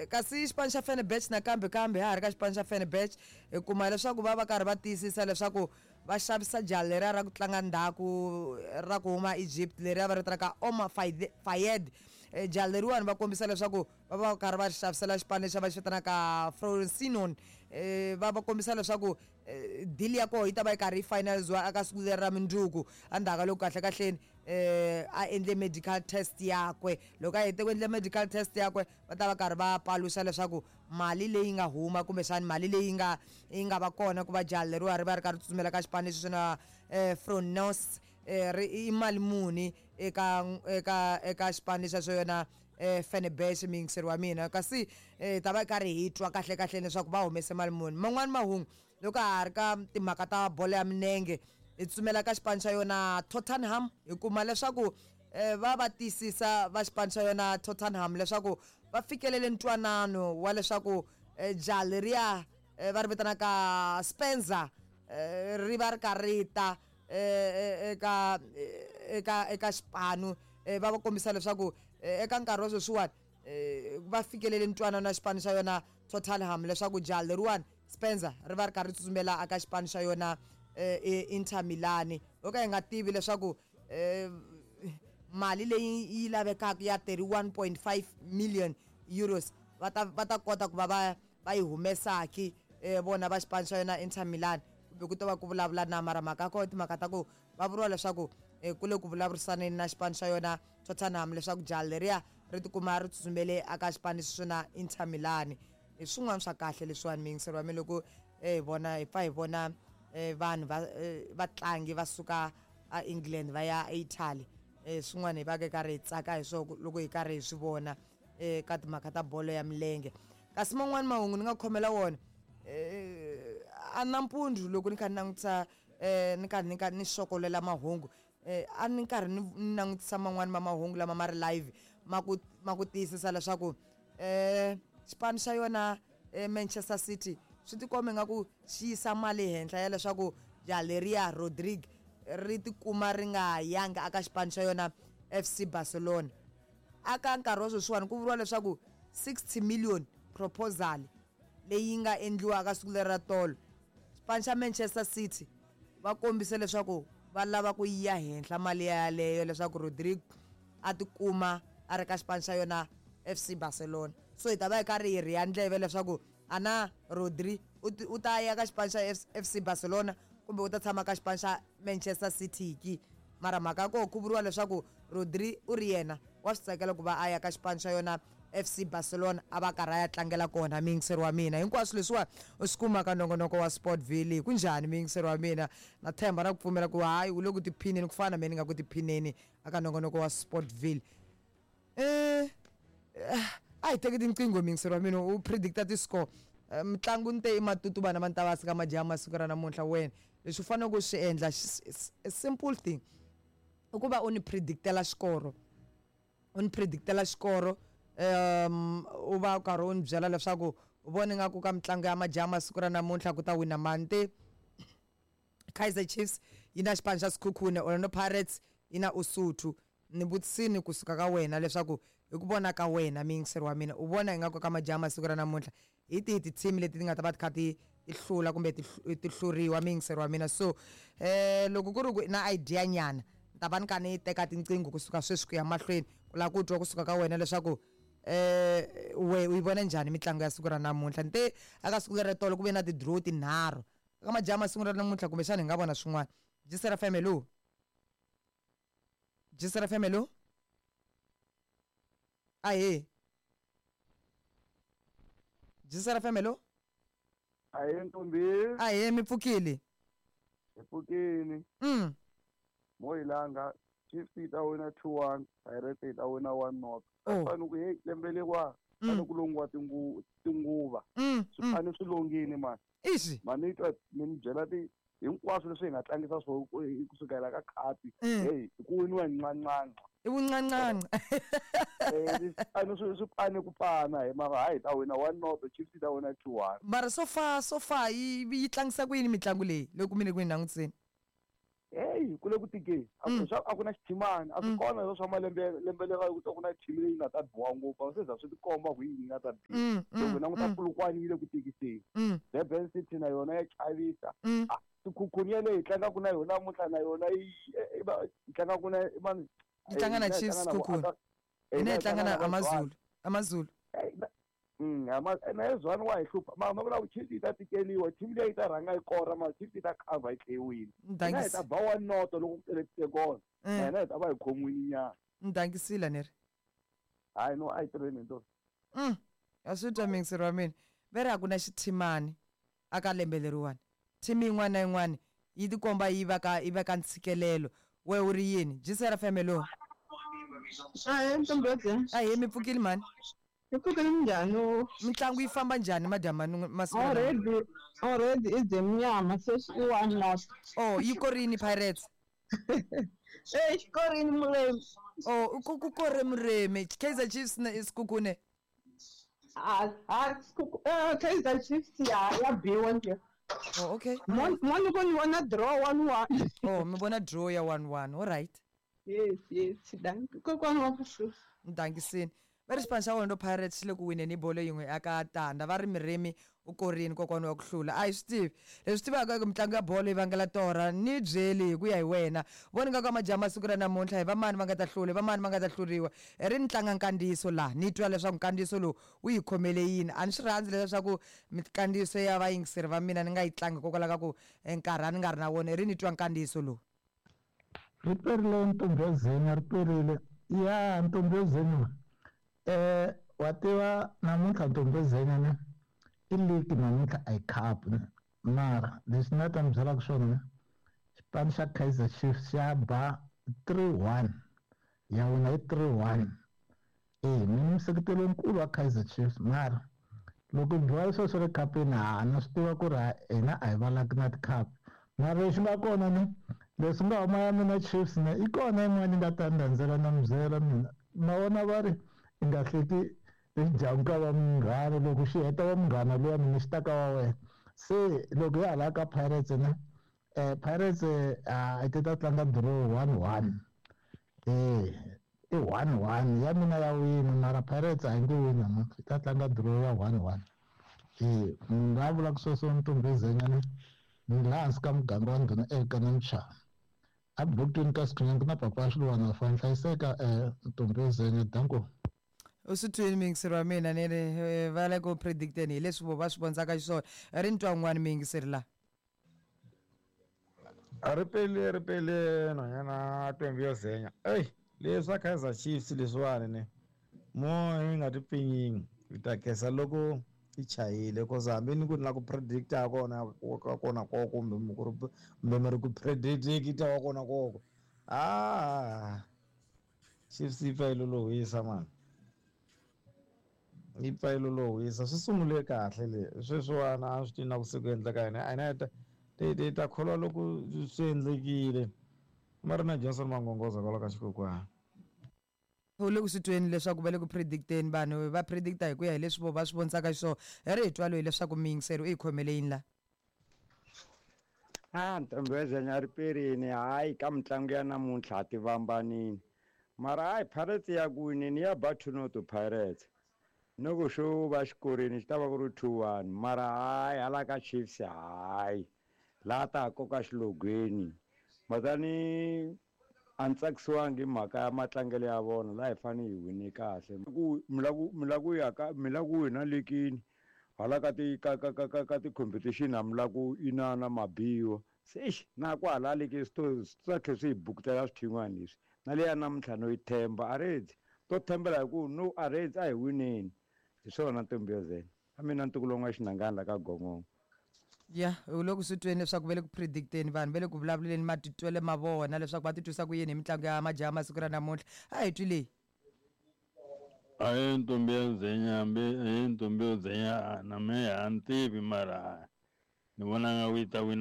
Kasi xipano xa Fenerbahce nakambe kambe ha ha ri ka xipano xa Fenerbahce hi kuma leswaku va va karhi va tiyisisa leswaku va xavisa jaha leriya ra ku tlanga ndzhaku ra ku huma Egypt leriya va ri vitanaka Omar Fayed. Jaha leriwani va kombisa leswaku va va karhi va ri xavisela xipano lexi va xi vitanaka Frosinone. Va va kombisa leswaku deal ya kona yi ta va yi karhi yi finaliziwa eka siku leri ra mundzuku endzhaku ka loko kahlekahleni a endle medical test yakwe. Loko a hete ku endla medical test yakwe va ta va karhi va paluxa leswaku mali leyi nga huma kumbexani mali leyi nga yi nga va kona ku va jaha leriwa ri va ri karhi tsutsumela ka xipano lexi na Fronos ri i mali muni eka eka eka xipano lexi xa yona Fenerbahce muyingiseri wa mina kasi hi ta va hi karhi hi twa kahle kahle leswaku va humese mali muni. Man'wani mahungu loko ha ha ri ka timhaka ta bolo ya milenge hi tsutsumela ka xipano xa yona Tottenham hi kuma leswaku va va tiyisisa va xipano xa yona Tottenham leswaku va fikelele ntwanano wa leswaku jaha leriya va ri vitanaka Spencer ri va ri karhi ri ta eka eka eka xipano va va kombisa leswaku eka nkarhi wa sweswiwani va fikelele ntwanano na xipano xa yona Tottenham leswaku jaha leriwani Spencer ri va ri karhi ri tsutsumela eka xipano xa yona Inter Milan ho ka hi nga tivi leswaku mali leyi yi lavekaka ya 31.5 million euros va ta va ta kota ku va va va yi humesaki vona va xipano xa yona Inter Milan kumbe ku ta va ku vulavula na mara mhaka ya kona timhaka ta ku va vuriwa leswaku ku le ku vulavurisaneni na xipano xa yona Tottenham leswaku jaha leriya ri tikuma ri tsutsumele eka xipano lexi na Inter Milan. Hi swin'wana swa kahle leswiwani muyingiseri wa mina loko hi vona hi pfa hi vona vanhu va vatlangi va suka a England va ya eItaly swin'wana hi va ka karhi hi tsaka hi swona loko hi karhi hi swi vona ka timhaka ta bolo ya milenge. Kasi man'wani mahungu ni nga khomela wona a nampundzu loko ni kha ni langutisa ni karhi ni kha ni xokolela mahungu a ni karhi ni langutisa man'wani ma mahungu lama ma ri live ma ku ma ku tiyisisa leswaku xipano xa yona Manchester City swi tikomba ingaku xi yisa mali henhla ya leswaku jaha leriya Rodrigue ri tikuma ri nga yangi aka xipano xa yona FC Barcelona. Aka nkarhi wa sweswiwani ku vuriwa leswaku 60 million proposal leyi nga endliwa aka siku leri ra tolo xipano xa Manchester City va kombise leswaku va lava ku ya henhla mali yaleyo leswaku Rodrigo a tikuma a ri ka xipano xa yona FC Barcelona. So hi ta va hi karhi hi rhiya ndleve leswaku ana Rodri u ta ya ka xipano xa FC Barcelona kumbe u ta tshama ka xipano xa Manchester City ki. Mara mhaka ya kona ku vuriwa leswaku Rodri u ri yena wa swi tsakela ku va a ya ka xipano xa yona FC Barcelona a va karhi a ya tlangela kona muyingiseri wa mina. Hinkwaswo leswiwani u swi kuma ka nongonoko wa Sportville. Kunjhani muyingiseri wa mina? Na tshemba na ku pfumela ku hayi u le ku tiphineni ku fana na mehe ni nga ku tiphineni aka nongonoko wa Sportville. A hi teki tinqingho muyingiseri wa mina u predicta ti-score. Mitlangu ni te i matutu vana va Ntavasi ka majaha masiku ra namuntlha wena leswi u faneleke u swi endla a simple thing i ku va u ni predictela xikoro. U ni predictela xikoro u va u karhi u ni byela leswaku u vona ingaku ka mitlangu ya majaha masiku ra namuntlha ku ta wina mani te Kaizer Chiefs yi na xipano xa Sekhukhune Orlando Pirates yi na Usuthu ni vutisini kusuka ka wena leswaku hi ku vona ka wena muyingiseri wa mina u vona ingaku ka majaha masiku ra namuntlha hi tihi ti-team leti ti nga ta va ti kha ti ti hlula kumbe ti ti hluriwa muyingiseri wa mina so loko ku ri ku na idea nyana ni ta va ni kha ni teka tinqingho kusuka sweswi ku ya mahlweni ku lava ku twa kusuka ka wena leswaku we u yi vona njhani mitlangu ya siku ra namuntlha ni te aka siku leri tolo ku ve na ti-draw tinharhu eka majaha masiku ra namuntlha kumbexana hi nga vona swin'wana Jisera FM hello Jisera FM hello ahee Jisera FM hello Ahee ntombi. Ahee mi pfukile. Hi pfukile. Mo hi langa Chiefs yi ta wina 2-1, Pirates yi ta wina 1-0. Oh. Fane ku hey lembe leriwa fane ku longiwa tinguva. Swipano swi longile mani. Ixi. Mani twa ni mi byela ti hinkwaswo leswi hi nga tlangisa swo kusukela ka khapi hey ku winiwa hi ncancanca. I vuncancanca. Swipano swi pane ku pana hi mara hayi hi ta wina 1-0 Chiefs yi ta wina 2-1. Mara so far so far yi yi tlangisa ku yini mitlangu leyi loko mi le ku yi langutiseni? Heyi ku le ku tikeni. A ku swa a ku na xithimani, a swi kona leswo swa malembe lembe leri ku ta ku na team leyi nga ta biwa ngopfu, a swi za swi tikomba ku yi nga ta biwa. Loko hi languta Polokwane yi le ku tikiseni. Durban City na yona ya chavisa. Ah, Sekhukhune yaleyo hi tlangaka na yona namuntlha na yona yi yi tlangaka na i mani? Yi tlanga na Hina hi Chiefs tlanga na vo Sekhukhune. Aka Hina hina hi hi tlanga tlanga na na va Amazulu. Amazulu. Na ye Zwane wa hi hlupha. Mara ma vula ku Chiefs yi ta tikeliwa, team liya yi ta rhanga yi kora mara Chiefs yi ta cover yi tlhe yi wina. Hina hi ta ba one noto loko ku tele tigolo. Na hina hi ta va hi khomiwile nyana. Ni dangisile ni ri. Hayi no a yi tirheni hi ntoto. A swi twa muyingiseri wa mina. Ve ri a ku na xithimani aka lembe leriwani. Team yin'wana na yin'wana yi tikomba yi va ka yi va ka ntshikelelo. Wehe u ri yini? GCR FM hello. Ahee Ntombhi. Ahee mi pfukile mhani? Hi pfukile minjhani? Mitlangu yi famba njhani madyambu masiku lawa? Already already i dye nyama sweswi i one not. Oh yi korini Pirates? Eh xikorini Muremi. Oh ku kore Muremi. Kaizer Chiefs na Sekhukhune? Ah ah Kaizer Chiefs ya ya biwa nje. Oh okay. Mo mo ni ko ni vona draw 1-1. Oh mi vona draw ya 1-1. All right. Yes yes dankie. Kokwana wa ku Dangisini. Va ri xipano xa Orlando Pirates xi le ku wineni hi bolo yin'we eka tanda va ri Miremi u korini kokwana wa ku hlula. A hi swi tivi. Leswi tivaka i ku mitlangu ya bolo yi vangela torha. Ni byeli hi ku ya hi wena. Vona ingaku a majaha ma siku ra namuntlha hi va mani va nga ta hlula, hi va mani va nga ta hluriwa. I ri ni tlanga nkandziyiso laha ni twa leswaku nkandziyiso lowu wu yi khomele yini. A ni swi rhandzi leswiya swa ku mikandziyiso ya vayingiseri va mina ni nga yi tlangi hikokwalaho ka ku nkarhi a ni nga ri na wona. I ri ni twa nkandziyiso lowu. Ri perile ntombi yo zenya ri perile ya ntombi yo zenya eh wa tiva namuntlha ntombi yo zenya ne i league namuntlha a yi cup ne mara leswi ni nga ta mi byelaka swona ne xipano xa Kaizer Chiefs xa ba 3-1 ya wina hi 3-1 e mina museketeli lonkulu wa Kaizer Chiefs mara loko hi biwa sweswo swa le khapeni ha na swi tiva ku ri hina a hi valaki na ti-cup mara lexi nga kona ni leswi nga huma ya mina Chiefs ne i kona yin'wana yi nga ta ni landzela na mi byela mina ma vona va ri i nga hleki lexi dyaku ka va munghana loko xi heta va munghana luya mina xi ta ka wa wena se loko ya hala ka Pirates ne Pirates a ti ta tlanga draw 1-1 i 1-1 ya mina ya wina mara Pirates a yi nge wini namuntlha yi ta tlanga draw ya 1-1 munhu loyi a vulaka sweswo Ntombi Zenyane ni laha hansi ka muganga wa ndhuna Elkana Mchana a bokweni ka Sikhunyani ku na papa Swiluwana fa hlayiseka Ntombi Zenya danko. U swi twini muyingiseri wa mina ni ri va le ku predicteni hi leswi vo va swi vonisaka xiswona ri ni twa un'wana muyingiseri la. A ri pele ri pele nhwanyana Ntombi yo Zenya eyi leswa Kaizer Chiefs leswiwani ne mo yi nga ti pfinyingi hi ta khensa loko yi chayile cause hambi ni ku ni la ku predicta kona ka kona koko kumbe mi ku ri kumbe mi ri ku predicta wa kona koko a Chiefs yi pfa yi lolohisa mani yi pfa yi lolohisa swi sungule kahle le sweswiwani a swi tivi na ku se ku endleka yini a hina hi ta hi ta kholwa loko swi endlekile ma ri na Johnson Mangongoza kwala ka xikokwani. U le ku swi tweni leswaku va le ku predicteni vanhu va predicta hi ku ya hi leswi vo va swi vonisaka xiswona hi ri hi twa loyi leswaku muyingiseri u yi khomele yini la. A ntombi yo Zenya ri perini hayi ka mitlangu ya namuntlha a ti vambanini mara hayi Pirates ya ku wineni ya ba 2-0 Pirates no ku xo va xikorini xi ta va ku ri 2-1 mara hayi hala ka Chiefs hayi laha ta ha koka xilogweni matani a ni tsakisiwangi hi mhaka ya matlangelo ya vona laha hi fanele hi wine kahle ku mi la ku mi la ku ya ka mi la ku wina lekini hala ka ti ka ka ka ka ka ti-competition a mi la ku inana mabiwa se exi na ku hala leki swi to swi ta tlhe swi hi bukutela swithin'wana leswi na leya namuntlha no yi themba a redzi to thembela hi ku no a redzi a hi wineni hi swona ntombi yo zena a mina ntukulu wa n'wa-Xinangana la ka Gongongo. Ya u le ku swi tweni leswaku va le ku predicteni vanhu va le ku vulavuleni matitwelo ma vona leswaku va titwisa ku yini hi mitlangu ya majaha masiku ra namuntlha a hi twi leyi. Ahee ntombi ya Zenya hambi ahee ntombi yo Zenya na mehe a ni tivi mara ni vona nga ku yi ta wina.